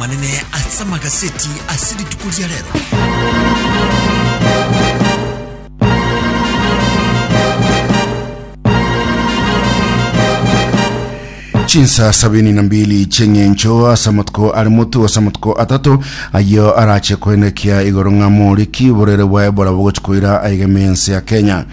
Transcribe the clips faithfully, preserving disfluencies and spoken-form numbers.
Manene ase amagaseti ase rituko ria rero. Chinsa sabini na mbili cheng'encho ase amatuko are motu ase amatuko atato ayo arache koenekia igoro ng'a moriki oborere bwa Ebola bogochi koira aigeme ense ya Kenya.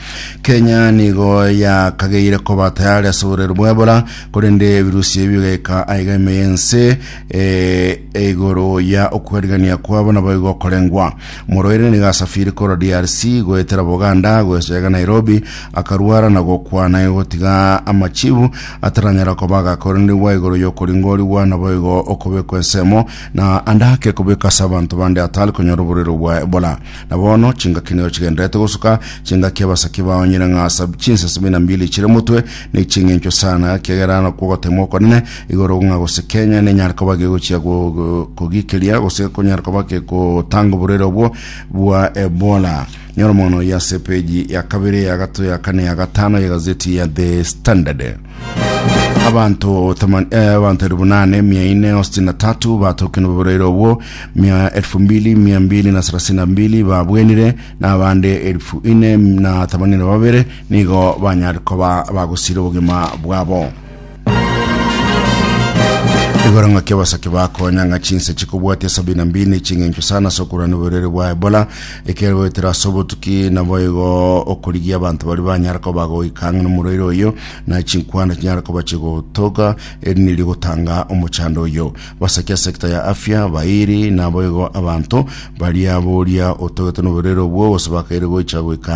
Kenya nigo yakageire koba tayari ase oborere bwa Ebola korende ebirusi ebi bigaika aigeme ense eh, igoro ya okwerigania kwabo nabo igokorengwa. Moroire nigo asafiri korwa D R C goetera Buganda goechega Nairobi akarwara na gokwana gotiga amachibu ataranyara koba agakoranigwa igoro yokoringorigwa nabo igo okobekwa ensemo na andake kobeka ase abanto bande atari konyora oborero bwa Ebola. Na bono chingaki nigo chigenderete gosuka chingaki abasaki baonyire ng'a sab- chinsa sabini na mbili chire motwe ne ching'encho sana kiagera nakwo gotema okonene igoro ng'a gose Kenya nenyara koba gegochia go- go- kogikeria gose konyara koba gegotanga oborere obwo bwa Ebola. Nyora mono ya peji ya kabere, ya gato, ya kane, ya gatano ya gazeti ya The Standard. Abantu thaman- eh, abantu elfu nane mia nne sitini na tatu batokene oborwaire obwo, mia elfu mbili mia mbili na thelathini na mbili babwenire na abande elfu ine na themanini na babere nigo banyare koba bagosire obogima bwabo. Igoro ng'aki abasake bakonya ng'a chinse chikobwatia sabini na mbili ching'encho sana ase okorwania oborwaire bwa Ebola ekero goetera ase obotuki nabo igo okorigia abanto bari banyara koba goika ang'e na omorwaire oyo na chinkwana chinyara koba chigotoka eri niri gotanga omochando oyo. Basaki ase sekta ya afya bairi nabo igo abanto baria boria otogete na oborwaire obwo gose bakaire goicha goika.